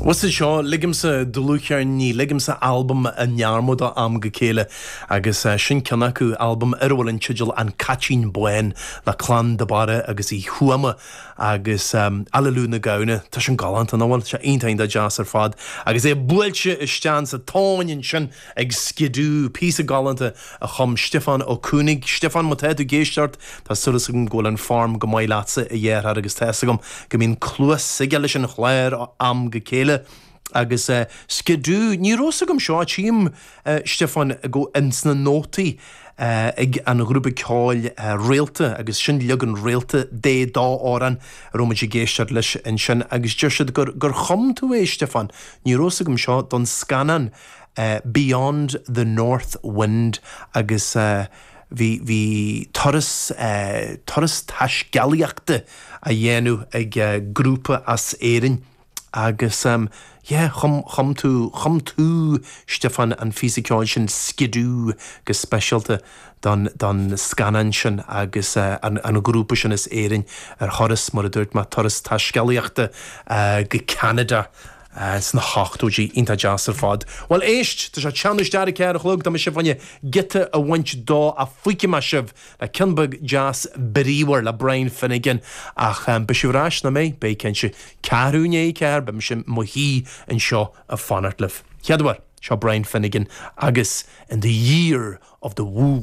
Bhfuil fhios a'd seo, ligimse dlúthcheirnín, ligimse albam i ndearmad ó am go chéile agus sin ceann acu, albam ar a bhfuil an teideal An Caitín Bán le Clann de Barra agus Uí Thuama agus Aililiú na Gamhna. Tá sin galánta, nach bhfuil? Tá sé iontach iontach deas ar fad agus é buailte isteach sa tóin ansin ag Skidoo, píosa galánta a chum Stiofán Ó Cuanaigh. Stiofán, má tá tú ag éisteacht, tá súil agam go bhfuil an form go maith leatsa, a dheartháir, agus tá fhios agam go mbíonn cluas aige leis an chlár ó am go chéile. Agus Skidoo, ní raibh fhios agam seo, tchím, Stiofán, go ins na nótaí ag an ghrúpa ceoil Réalta, agus sin leagan Réalta de dá amhrán a raibh muid ag éisteacht leis ansin, agus deir siad gur gur chum tú é, Stiofán, ní raibh fhios agam seo, don scannán Beyond the North Wind agus bhí, bhí turas, turas taiscéalaíochta á dhéanamh ag grúpa as Éirinn agus yeah, chum, chum tú, chum tú, Stiofán, an phíosa ceoil sin Skidoo go speisialta don, don scannán sin agus an, an grúpa sin as Éirinn ar thuras, mar a dúirt mé, turas taiscéalaíochta go Ceanada. Sna hochtóidí, iontach deas ar fad. Bhuel, éist, tá sé teannadh isteach ar a 4 a chlog, tá mise fá choinne giota a bhaint dó ach fágfaidh mé sibh le ceann beag deas bríomhar le Brian Finnegan ach beidh sibh ar ais, nach mbeidh? Beidh cinnte. Ceathrú i ndiaidh a 4, beidh mise i mo shuí anseo ag fanacht libh. Chéad uair, seo Brian Finnegan agus In the Year of the Woo.